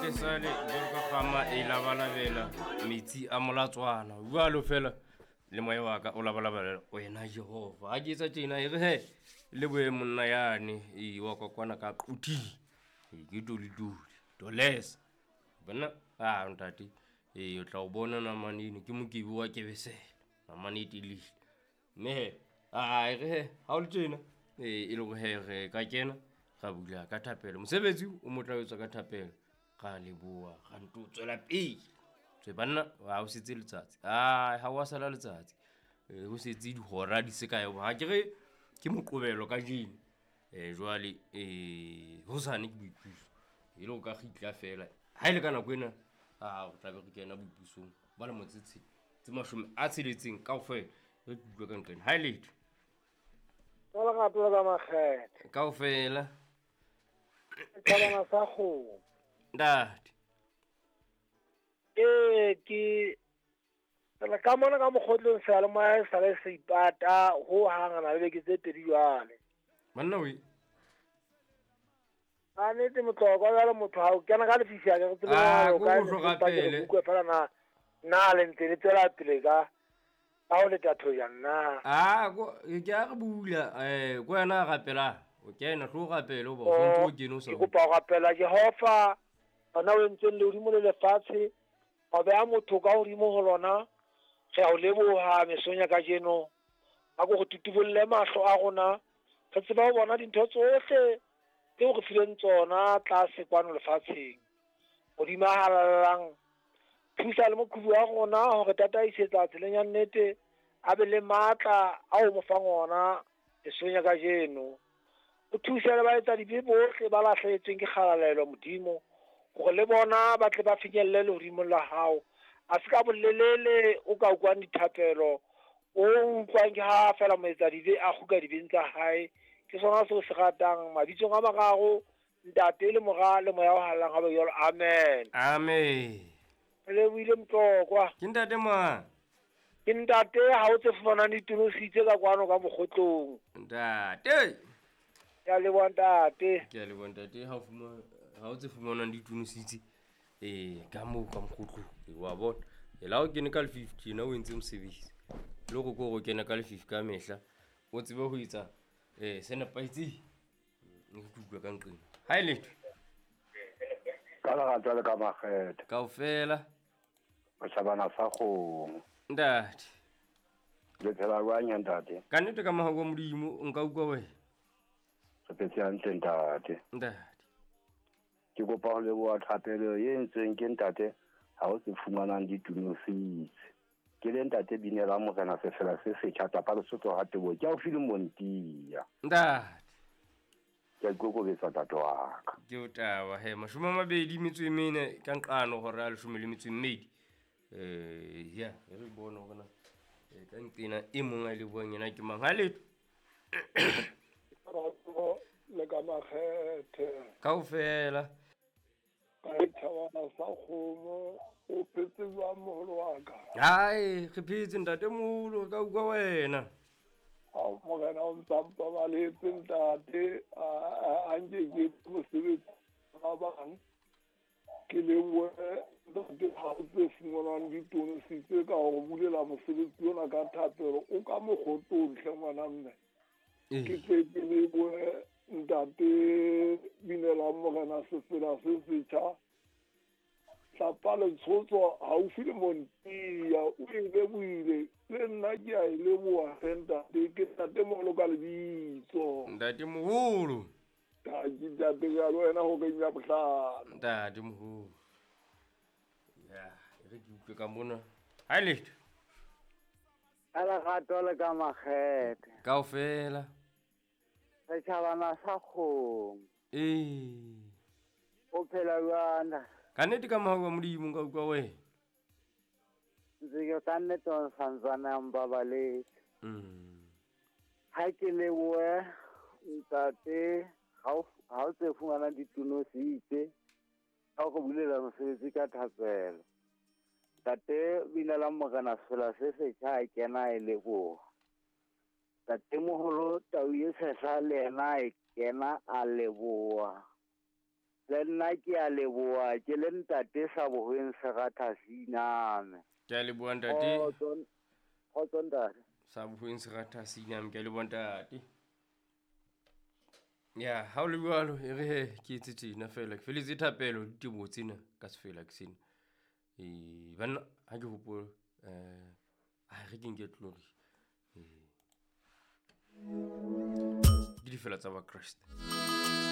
Ntate sale jwalo ka kgama e labalabela metsi a molatswana jwalo fela le moya wa ka o labalabela wena Jehova. Ha ke etsa tjena e re he le boye monna yane e wa kokwana ka quthi. Ke toli toli tolesa. Bona a ntate e o tla o bona namane eno ke mokebi wa kebesela namane e telele. Mme he a e re he ha o le tjena e le hore he re ka kena ra bula ka thapelo. Mosebetsi o motla o etswa ka thapelo. Ra leboha ra nto tswela pele. Tswe banna ha o setse letsatsi. Ai ha wa sala letsatsi. Ho setse dihora di se kae ha ke re ke moqobelo kajeno. Jwale hosane ke boipuso. E le o ka kgitla fela. Ha ile ka nako ena a o tla be re kena boipusong ba le motse tse 60 kaofela re utlwe ka nqena. Ha ile ka lerato la makgethe kaofela ka bana sa kgomo ntate. Ke tsela ka mona ka mokgotlong seyalemoya sa le se ipata ho hang na le beke tse pedi jwale. Manna we a nete motlokwa jwale motho ha o kena ka lefifi a ke re tsebe Ah, o ko ka ho hloka pele. Utlwe fela na na le ntse le tswela pele ka ha o le tatho ya nna. Ah ko ke a re bula ko yena a rapela o kena tlo rapela o ba o ntse o kene o sa Ke kopa ho rapela Jehova ona o entseng lehodimo le lefatshe wa beha motho ka hodimo ho lona. Re a o leboha mesong ya kajeno. A ko re tutubolle mahlo a rona re tseba ho bona dintho tsohle tseo re fileng tsona tlase kwano lefatsheng. Modimo a halalelang, thusa le moqhubu wa rona hore tataisetsa tseleng ya nnete, a be le matla ao mo fang ona mesong ya kajeno. O thuse le baetsadibe bohle ba lahlehetsweng ke kgalalelo Modimo, hore le bona ba tle ba finyelle lehodimong la hao. A se ka bolelele o ka utlwang dithapelo, o utlwang ke ha fela moetsadibe a kgutla dibeng tsa hae. Ke sona seo se ratang mabitsong a mararo, Ntate le Mora le Moya o Halalelang, ha be jwalo. Amen. Amen. Re lebohile Motlokwa. Ke ntate mang? Ke ntate ha o tse fumanang ditonositse ka kwano ka mokgotlong. Ntate. Ke a leboha ntate. Ke a leboha ntate ha o fumana ha o tse fumanang ditonositse ka moo ka mokgotlong. Wa bona. E la o kene ka lefifi tjena o entse mosebetsi. Le hore ko o kene ka lefifi ka mehla o tsebe ho etsa se nepahetseng. Ke utlwa ka nqeng. Ha e letho. Ka lerato le ka makgethe. Kaofela. O shabana sa kgomo. Ntate. Le phela jwang ya ntate? Ka nnete ka mahau a Modimo nka utlwa wena. Re phetse hantle ntate. Ntate. Ke kopa ho leboha thapelo e entsweng ke ntate ha o se fumanang ditunositse. Ke le ntate binela morena sefela se setjha tapa Lesotho ha tebo. Ke haufi le Montia. Ntate. Ke a ikokobetsa ntate wa ka. Ke o taba he 24 ka nqano hora ya 12. Ya re bone hore na ka nqena e mong a lebohang yena ke mang. Ha letho. Rato le ka makgethe. Kaofela. Ka thabana sa kgomo o phetse jwang moholo wa ka? Hai, re phetse ntate moholo ka utlwa wena. Ao morena o ntsa mpabaletse ntate, a nke ke mosebetsi ba bang. Ke lebohe ntate ha o tse fumanang ditonositse ka hore bulela mosebetsi ona ka thapelo o ka mokgotong hle ngwana mme. Ke tle ke lebohe ntate binelang morena sefela se setjha tlapa letshotso haufi le Montia o e lebohile le nna ke a e leboha hle ntate. Ke ntate moholo ka lebitso. Ntate moholo. Ka ke ntate ka le wena horeng ya bohlano. Ntate moholo. Ya, re ke utlwe ka mona. Ha letho. Ka lerato le ka makgethe. Kaofela. Re tjhabana sa kgomo. O phela jwang? Ka nnete ka mohau wa Modimo nka utlwa wena. Ntse ke ka nnete o santsane a mpabaletse. Ha ke lebohe ntate ha o tse fumanang ditonositse ka go bulela mosebetsi ka thapelo. Ntate binela morena sefela se setjha a kena e leboha. Ntate moholo tau e tshehla le yena e kena a leboha. Le nna ke a leboha ke le ntate sa bohweng seratha seiname. Ke a leboha ntate. Kgotso ntate. Sa bohweng seratha seiname, ke a leboha ntate. Ya, ha o le jwalo, e re he ke etse tjena fela, ke feletse thapelo diteboho tsena ka sefela ke sena. Ee, banna ha ke hopole a re ke nke tlori. Ee. Ke difela tsa Bakreste.